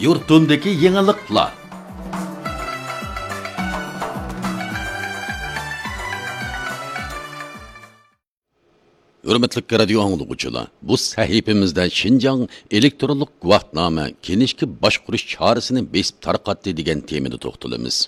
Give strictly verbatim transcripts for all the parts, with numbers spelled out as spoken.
يۇرتۇمدىكى يېڭىلىقلار. ھۆرمەتلىك رادىيو ئاڭلىغۇچىلار، بۇ سەھىپىمىزدە شىنجاڭ ئېلېكترونلۇق گۇۋاھنامە كىنىشكا باشقۇرۇش چارىسىنى بېسىپ تارقاتتى دېگەن تېمىدا توختىلىمىز.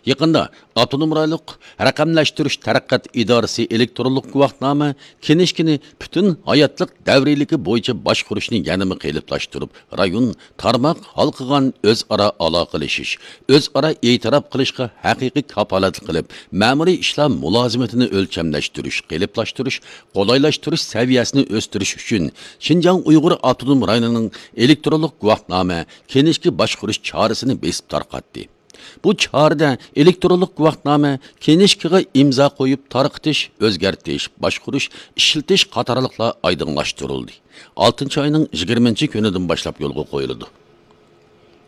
يېقىندا ئاپتونوم رايونلۇق رەقەملەشتۈرۈش تەرەققىيات ئىدارىسى ئېلېكترونلۇق گۇۋاھنامە كىنىشكىنى پۈتۈن ھاياتلىق دەۋرىيلىكى بويىچە باشقۇرۇشنى يەنىمۇ قېلىپلاشتۇرۇپ، رايون، تارماق ھالقىغان ئۆزئارا ئالاقىلىشىش، ئۆزئارا ئېتىراپ قىلىشقا ھەقىقىي كاپالەتلىك قىلىپ، مەمۇرىي ئىشلار مۇلازىمىتىنى ئۆلچەملەشتۈرۈش، قېلىپلاشتۇرۇش، قولايلاشتۇرۇش سەۋىيەسىنى ئۆستۈرۈش ئۈچۈن شىنجاڭ ئۇيغۇر ئاپتونوم رايونىنىڭ ئېلېكترونلۇق گۇۋاھنامە كىنىشكا باشقۇرۇش چارىسىنى بېسىپ تارقاتتى. بۇ چارىدە ئېلېكترونلۇق گۇۋاھنامە كىنىشكىغا ئىمزا قويۇپ تارقىتىش، ئۆزگەرتىش، باشقۇرۇش، ئىشلىتىش قاتارلىقلار ئايدىڭلاشتۇرۇلدى. ئالتىنچى ئاينىڭ يىگىرمىنچى كۈنىدىن باشلاپ يولغا قويۇلىدۇ.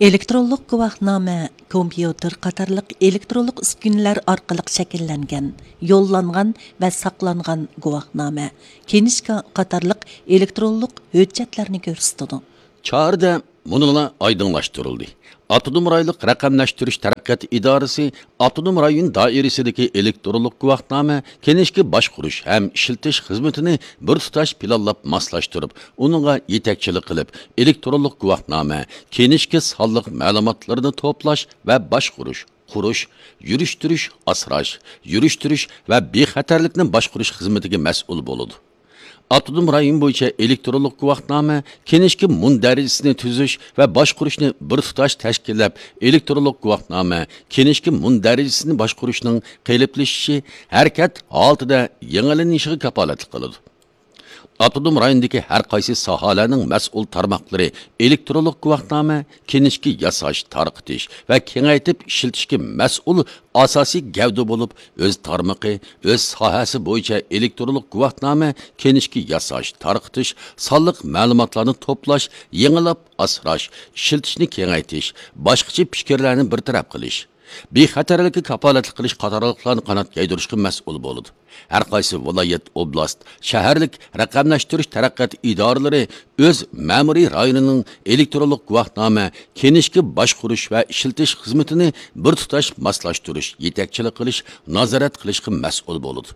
ئېلېكترونلۇق گۇۋاھنامە كومپيۇتېر قاتارلىق ئېلېكترونلۇق ئۈسكۈنىلەر ئارقىلىق شەكىللەنگەن، يوللانغان ۋە ساقلانغان گۇۋاھنامە، كىنىشكا قاتارلىق ئېلېكترونلۇق ھۆججەتلەرنى كۆرسىتىدۇ. چارىدە مۇنۇلار ئايدىڭلاشتۇرۇلدى. ئاپتونوم رايونلۇق رەقەملەشتۈرۈش تەرەققىيات ئىدارىسى ئاپتونوم رايون دائىرىسىدىكى ئېلېكترونلۇق گۇۋاھنامە كىنىشكا باشقۇرۇش ھەم ئىشلىتىش خىزمىتىنى بىر تۇتاش پىلانلاپ ماسلاشتۇرۇپ، ئۇنىڭغا يېتەكچىلىك قىلىپ، ئېلېكترونلۇق گۇۋاھنامە كىنىشكا سانلىق مەلۇماتلىرىنى توپلاش ۋە باشقۇرۇش، قۇرۇش، يۈرۈشتۈرۈش، ئاسراش، يۈرۈشتۈرۈش ۋە بىخەتەرلىكنى باشقۇرۇش خىزمىتىگە مەسئۇل بولىدۇ. ئاپتونوم رايون بويىچە ئېلېكترونلۇق گۇۋاھنامە كىنىشكا مۇندەرىجىسىنى تۈزۈش ۋە باشقۇرۇشنى بىر تۇتاش تەشكىللەپ، ئېلېكترونلۇق گۇۋاھنامە كىنىشكا مۇندەرىجىسىنى باشقۇرۇشنىڭ قېلىپلىشىشى، ھەرىكەت ھالىتىدە يېڭىلىنىشىغا كاپالەتلىك قىلىدۇ. ئاپتونوم رايوندىكى ھەر قايسى ساھەلەرنىڭ مەسئۇل تارماقلىرى ئېلېكترونلۇق گۇۋاھنامە كىنىشكا ياساش، تارقىتىش ۋە كېڭەيتىپ ئىشلىتىشكە مەسئۇل ئاساسىي گەۋدە بولۇپ، ئۆز تارمىقى، ئۆز ساھەسى بويىچە ئېلېكترونلۇق گۇۋاھنامە كىنىشكا ياساش، تارقىتىش، سانلىق مەلۇماتلارنى توپلاش، يېڭىلاپ ئاسراش، ئىشلىتىشنى كېڭەيتىش، باشقىچە پىكىرلەرنى بىر تەرەپ قىلىش، بىخەتەرلىككە كاپالەتلىك قىلىش قاتارلىقلارنى قانات يايدۇرۇشقا مەسئۇل بولىدۇ. ھەر قايسى ۋىلايەت، ئوبلاست، شەھەرلىك رەقەملەشتۈرۈش تەرەققىيات ئىدارىلىرى ئۆز مەمۇرىي رايونىنىڭ ئېلېكترونلۇق گۇۋاھنامە كىنىشكا باشقۇرۇش ۋە ئىشلىتىش خىزمىتىنى بىر تۇتاش ماسلاشتۇرۇش، يېتەكچىلىك قىلىش، نازارەت قىلىشقا مەسئۇل بولىدۇ.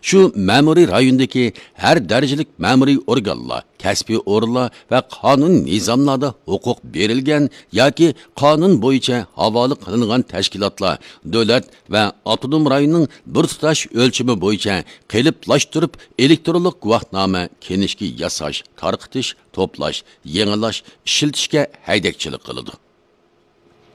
شۇ مەمۇرىي رايوندىكى ھەر دەرىجىلىك مەمۇرىي ئورگانلار، كەسپىي ئورۇنلار ۋە قانۇن نىزاملاردا ھوقۇق بېرىلگەن ياكى قانۇن بويىچە ھاۋالە قىلىنغان تەشكىلاتلار، دۆلەت ۋە ئاپتونوم رايوننىڭ بىر تۇتاش ئۆلچىمى بويىچە قېلىپلاشتۇرۇپ ئېلېكترونلۇق گۇۋاھنامە كىنىشكا ياساش، تارقىتىش، توپلاش، يېڭىلاش، ئىشلىتىشكە ھەيدەكچىلىك قىلىدۇ.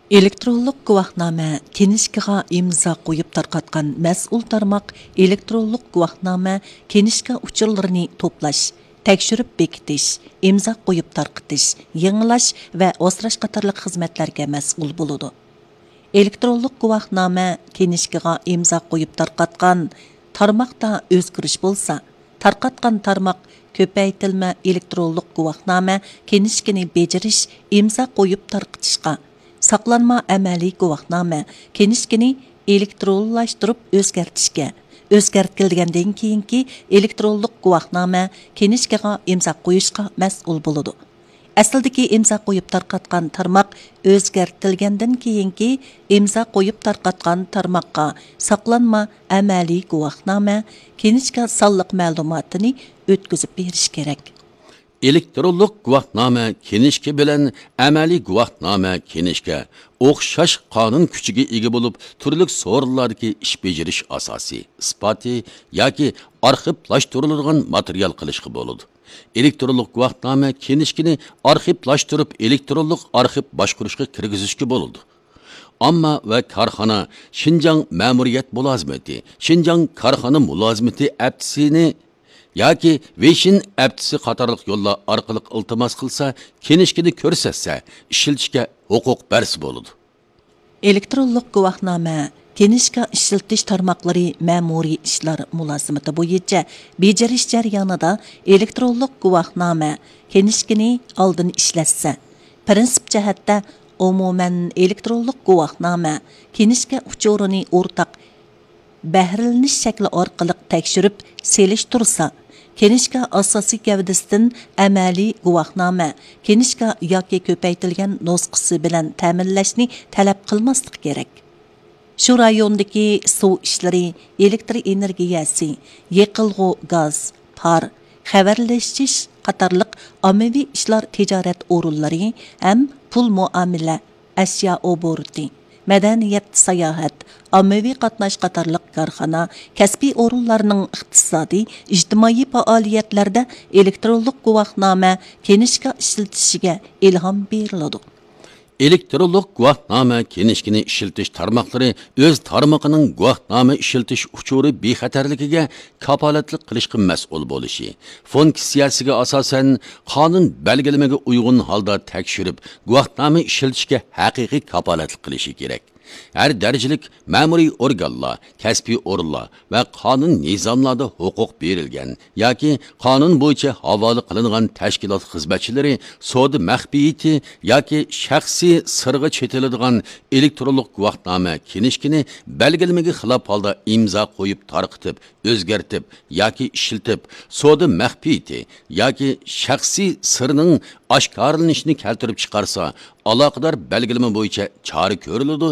ئېلېكترونلۇق گۇۋاھنامە كىنىشكىغا ئىمزا قويۇپ تارقاتقان مەسئۇل تارماق ئېلېكترونلۇق گۇۋاھنامە كىنىشكا ئۇچۇرلىرىنى توپلاش، تەكشۈرۈپ بېكىتىش، ئىمزا قويۇپ تارقىتىش، يېڭىلاش ۋە ئاسراش قاتارلىق خىزمەتلەرگە مەسئۇل بولىدۇ. ئېلېكترونلۇق گۇۋاھنامە كىنىشكىغا ئىمزا قويۇپ تارقاتقان تارماقتا ئۆزگىرىش بولسا، تارقاتقان تارماق كۆپەيتىلمە ئېلېكترونلۇق گۇۋاھنامە كىنىشكىنى بېجىرىش، ئىمزا قويۇپ تارقىتىشقا، ساقلانما ئەمەلىي گۇۋاھنامە كىنىشكىنى ئېلېكترونلاشتۇرۇپ ئۆزگەرتىشكە، ئۆزگەرتىلگەندىن كېيىنكى ئېلېكترونلۇق گۇۋاھنامە كىنىشكىغا ئىمزا قويۇشقا مەسئۇل بولىدۇ. ئەسلىدىكى ئىمزا قويۇپ تارقاتقان تارماق ئۆزگەرتىلگەندىن كېيىنكى ئىمزا قويۇپ تارقاتقان تارماققا ساقلانما ئەمەلىي گۇۋاھنامە، كىنىشكا سانلىق مەلۇماتىنى ئۆتكۈزۈپ بېرىش كېرەك. ئېلېكترونلۇق گۇۋاھنامە كىنىشكا بىلەن ئەمەلىي گۇۋاھنامە كىنىشكا ئوخشاش قانۇن كۈچىگە ئىگە بولۇپ، تۈرلۈك سورۇنلاردىكى ئىش بېجىرىش ئاساسى، ئىسپاتى ياكى ئارخىپلاشتۇرۇلىدىغان ماتېرىيال قىلىشقا بولىدۇ. ئېلېكترونلۇق گۇۋاھنامە كىنىشكىنى ئارخىپلاشتۇرۇپ، ئېلېكترونلۇق ئارخىپ باشقۇرۇشقا كىرگۈزۈشكە بولىدۇ. ئامما ۋە كارخانا شىنجاڭ مەمۇرىيەت مۇلازىمىتى، شىنجاڭ كارخانا مۇلازىمىتى ئەپتىسىنى ياكى ۋېيشىن ئەپتىسى قاتارلىق يوللار ئارقىلىق ئىلتىماس قىلسا، كىنىشكىنى كۆرسەتسە، ئىشلىتىشكە ھوقۇق بەرسە بولىدۇ. ئېلېكترونلۇق گۇۋاھنامە كىنىشكا ئىشلىتىش تارماقلىرى مەمۇرىي ئىشلار مۇلازىمىتى بويىچە بېجىرىش جەريانىدا ئېلېكترونلۇق گۇۋاھنامە كىنىشكىنى ئالدىن ئىشلەتسە، پىرىنسىپ جەھەتتە ئومۇمەن ئېلېكترونلۇق گۇۋاھنامە كىنىشكا ئۇچۇرىنى ئورتاق بەھرىلىنىش شەكلى ئارقىلىق تەكشۈرۈپ سېلىشتۇرسا، كىنىشكا ئاساسىي گەۋدىسىدىن ئەمەلىي گۇۋاھنامە، كىنىشكا ياكى كۆپەيتىلگەن نۇسخىسى بىلەن تەمىنلەشنى تەلەپ قىلماسلىق كېرەك. شۇ رايوندىكى سۇ ئىشلىرى، ئېلېكتر ئېنېرگىيەسى، يېقىلغۇ گاز، پار، خەۋەرلىشىش قاتارلىق ئاممىۋى ئىشلار تىجارەت ئورۇنلىرى ھەم پۇل مۇئامىلە، ئەشيا ئوبوروتى، مەدەنىيەت، ساياھەت، ئاممىۋى قاتناش قاتارلىق كارخانا، كەسپىي ئورۇنلارنىڭ ئىقتىسادىي، ئىجتىمائىي پائالىيەتلەردە ئېلېكترونلۇق گۇۋاھنامە، كىنىشكا ئىشلىتىشىگە ئىلھام بېرىلىدۇ. ئېلېكترونلۇق گۇۋاھنامە كىنىشكىنى ئىشلىتىش تارماقلىرى ئۆز تارمىقىنىڭ گۇۋاھنامە ئىشلىتىش ئۇچۇرى بىخەتەرلىكىگە كاپالەتلىك قىلىشقا مەسئۇل بولۇشى، فۇنكسىيەسىگە ئاساسەن، قانۇن بەلگىلىمىگە ئۇيغۇن ھالدا تەكشۈرۈپ، گۇۋاھنامە ئىشلىتىشكە ھەقىقىي كاپالەتلىك قىلىشى كېرەك. ھەر دەرىجىلىك مەمۇرىي ئورگانلار، كەسپىي ئورۇنلار ۋە قانۇن نىزاملاردا ھوقۇق بېرىلگەن ياكى قانۇن بويىچە ھاۋالە قىلىنغان تەشكىلات خىزمەتچىلىرى سودا مەخپىيىتى ياكى شەخسىي سىرغا چېتىلىدىغان ئېلېكترونلۇق گۇۋاھنامە كىنىشكىنى بەلگىلىمىگە خىلاپ ھالدا ئىمزا قويۇپ تارقىتىپ، ئۆزگەرتىپ ياكى ئىشلىتىپ، سودا مەخپىيىتى ياكى شەخسىي سىرنىڭ ئاشكارىلىنىشىنى كەلتۈرۈپ چىقارسا، ئالاقىدار بەلگىلىمە بويىچە چارە كۆرۈلىدۇ